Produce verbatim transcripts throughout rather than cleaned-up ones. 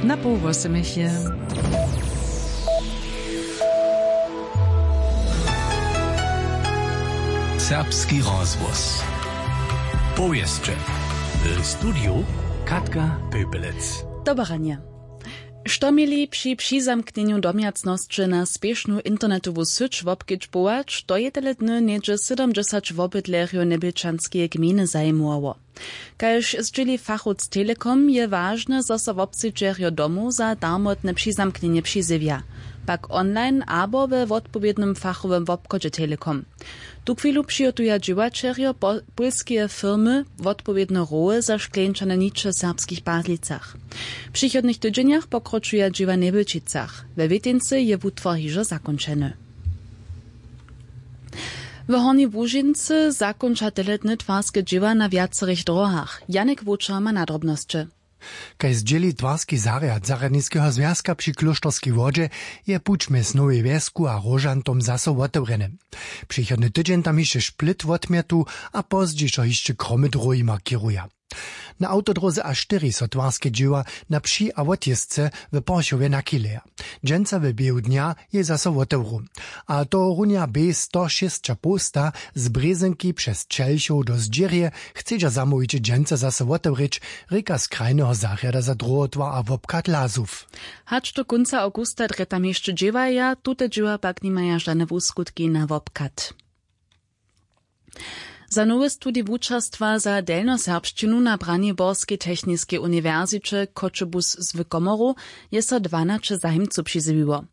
Na poł wosomich je. Serbski rozhłos. Powěsće. W studiju Katka Pepelec. Dobre ranje. Što měli při přizamknjenju domjacnosće na spěšnu internetowu syć wobkedźbować, to je tele dny něhdźe sydomdźesać wobydlerjow njebjelčanskeje gmejny zajimowało. Kaž zdźěli fachowc Telekom, je wažne, zo so wobsedźerjo domow za darmotne přizamknjenje přizjewja, pak online abo we wotpowědnym fachowym wobchodźe Telekom. Tuchwilu přihotuja dźěłaćerjo po- pólskeje firmy wotpowědne roły za škleńčane niče w serbskich Padlicach. W přichodnych tydźenjach pokročuja dźěła w Njebjelčicach. We Wětincy je wutwar hižo zakónčeny. W Hornjej Łužincy zakónča tele dny twarske dźěła na wjacorych dróhach. Janik Wočer ma nadrobnosće. Kaž zdźěli twarski zarjad zarjadniskeho zwjazka při Klóšterskej wodźe, je puć mjez Nowej Wjesku a Róžantom zaso wotewrjeny. Přichodny tydźeń tam hišće Split wotmětu a pozdźišo hišće kromy dróhi markěruja. Na awtodróze A štyri so twarske dźěła na při- a wotjězce w Porchowje nachyleja. Dźensa w běhu dnja je zaso wotewru. A tohorunja B sto šěsćapołsta z Brězynki přez Čelchow do Zdźěrje chcedźa zamołwić dźensa zaso wotewrěć, rěka z krajneho zarjada za druhotwar a wobchad Lazow. Hač do kónca awgusta drje tam hišće dźěłaja, tute dźěła pak nimaja žane wuskutki na wobchad. Za nowy studij wučerstwa za delnjoserbšćinu na Braniborskej techniskej uniwersiće Choćebuz z Wykomoru je so dwanaće zajimcow přizjewiło.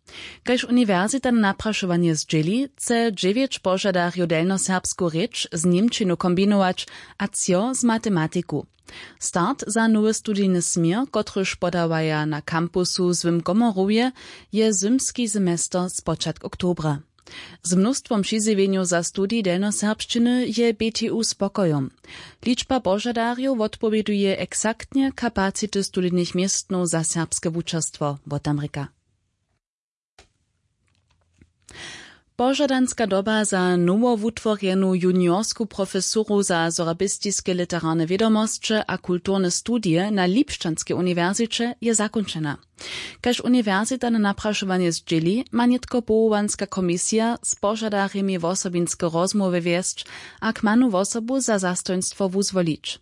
Kaž uniwersita na naprašowanje zdźěli, chce dźewjeć požadarjow delnjoserbsku rěč z němčinu kombinować a třo z matematiku. Start za nowy studijny směr, kotryž podawaja na kampusu w Złym Komorowje, je zymski semester spočatk oktobra. Z mnóstwom přizjewjenjow za studij delnjoserbšćiny je B T U spokojom. Ličba požadarjow wotpowěduje eksaktnje kapacity studijnych městnow za serbske wučerstwo, wotamrěka. Požadanska doba za nowowutworjenu juniorsku profesuru za sorabistiske literarne wědomosće a kulturne studije na Lipšćanskej uniwersiće je zakónčena. Kaž uniwersita na naprašowanje zdźěli, ma nětko powołanska komisija z požadarjemi wosobinske rozmołwy wjesć a kmanu wosobu za zastojnstwo wuzwolić.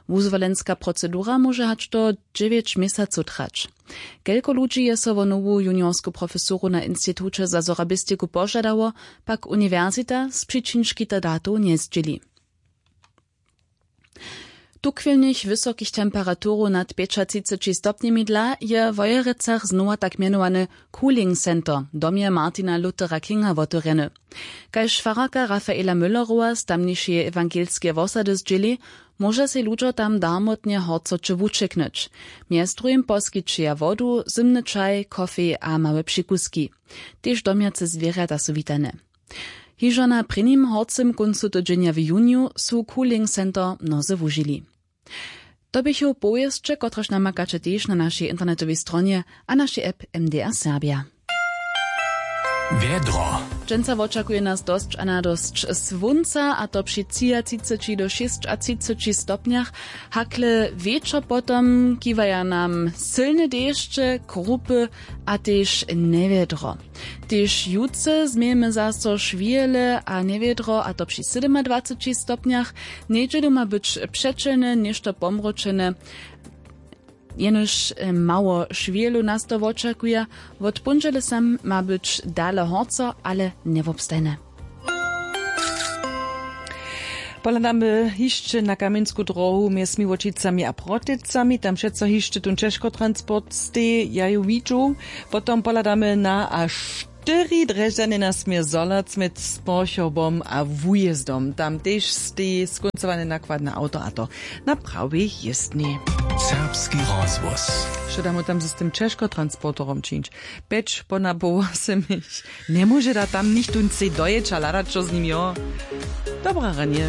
Wuzwolenska procedura móže hač do dźewjeć měsacow trać. Kelko ludźi je so wo nowu juniorsku profesuru na Instituće za sorabistiku požadało, pak uniwersita z přičin škita datow njezdźěli. Tuchwilnych wysokich temperaturow nad pjećatřiceći stopnjemi dla je w Wojerecach znowa tak mjenowany Cooling Center w domje Martina Luthera Kinga wotewrjeny. Kaž fararka Rafaela Müllerowa z tamnišeje ewangelskeje wosady zdźěli, móža sej ludźo tam darmotnje horcoće wućeknyć. Mjez druhim poskićeja wodu, zymny čaj, kofej a małe přikuski. Tež domjace zwěrjata su witane. Hižo na prěnim horcym kóncu tydźenja w juniju su Cooling Center mnozy wužili. To běchu powěsće, kotrež namakaće tež na našej internetowej stronje a našej app M D R Serbja. Wjedro. Dźensa wočakuje nas dosć a nadosć słónca, a to při třiatřiceći do šěsćatřiceći stopnjach. Hakle wječor potom kiwaja nam sylne dešće, krupy a tež njewjedro. Tež jutře změjemy zaso šwěle a njewjedro, a to při sydomadwaceći stopnjach. Njedźelu ma być přećelne, něšto pomročene, jenož, e, mało šwělu nas to wočakuje. Wot póndźele sam ma być dale horco, ale njewobstajne. Pohladamy hišće na kamjensku dróhu mjez Miłočicami a Protycami. Tam přeco hišće tón ćežkotransport steji, ja ju widźu. Potom pohladamy na A štyri, Drježdźany na směr Zholac mjez Sporchowom a Wujězdom. Tam tež steji skóncowane nakładne awto, a to na prawej jězbni. Serbski rozhłos. Što damy tam z tym ćežkotransporterom čińć? Pjeć po na poł wosomich. Njemóže da tam nichtó ńcej dojěć a hladać, što z nim jo. Dobre ranje.